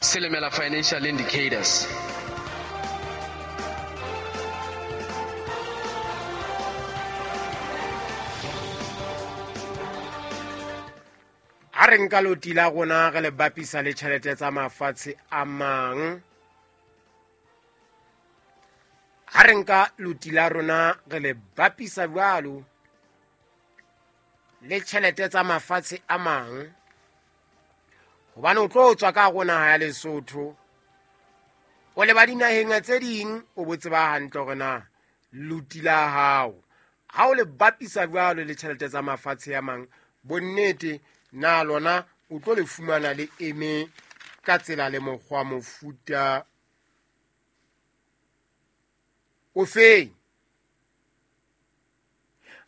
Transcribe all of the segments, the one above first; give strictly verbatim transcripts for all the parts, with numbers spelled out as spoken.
Silimela Financial Indicators. Ha re nka loti la rona re le bapisa le tjhelete tsa mafatshe a mang, ha re nka loti la rona re le bapisa jwalo le tjhelete tsa mafatshe a mang, hobane o tlo tswa ka hare ho naha ya Lesotho o leba dinaheng tse ding, o bo tseba hantle hore na loti la hao ha o le bapisa jwalo le tjhelete tsa mafatshe a mang, bonnete na lona o tlo le fumana le eme ka tsela le mokgwa mofuta o feng.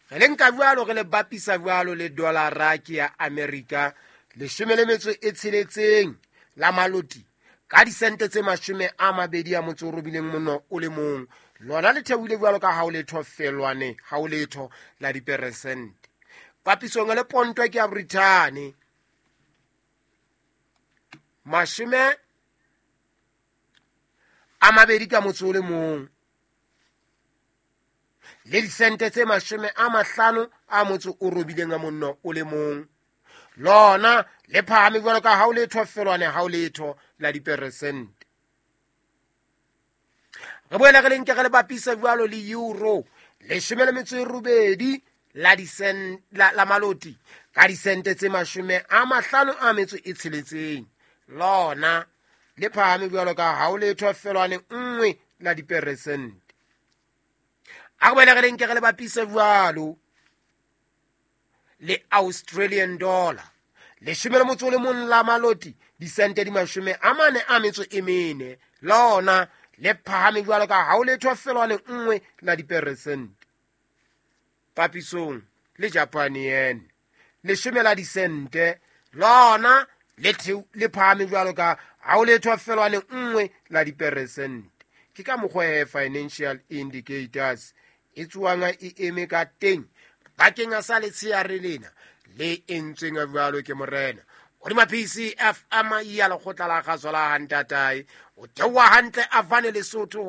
Re le nka jwalo re le bapisa jwalo le dollara ke ya Amerika leshome le metso e tsheletseng la maloti ka disente tse mashome a mabedi a motso o robileng mono o le mong, lona le theohile jwalo ka ha o letho felwane ha o letho la diperesente. Papisong le ponto ke ya Brithani mashome a mabedi ka motso o le mong le disente tse mashome a mahlano a motso o robileng a monno o le mong, lona le phahame jwalo ka ha o letho felwane ha o letho la diperesente. Re boela re le nke re le bapisa jwalo le euro leshome le metso e robedi la disen-, la, la maloti ka disente tse mashome a mahlano a metso e tsheletseng, lona le phahame jwalo ka ha o letho felwane nngwe la diperesente. A re boele re le nke re le bapise jwalo le Australian dollar leshome le motso o le mong la maloti disente di mashome a mane a metso e mene, lona le phahame jwalo ka ha o letho felwane nngwe la diperesente. Papisong le Japan yen leshome la disente, lona le theo-, le phahame jwalo ka ha o letho felwane nngwe la diperesente. Ke ka mokgwa e Financial Indicators e tsoang e eme ka teng bakeng sa letsheare lena le entsweng jwalo ke morena. Hodima P C F M ya lekgotla la kgaso la Hantatae, o theoha hantle a fane Lesotho.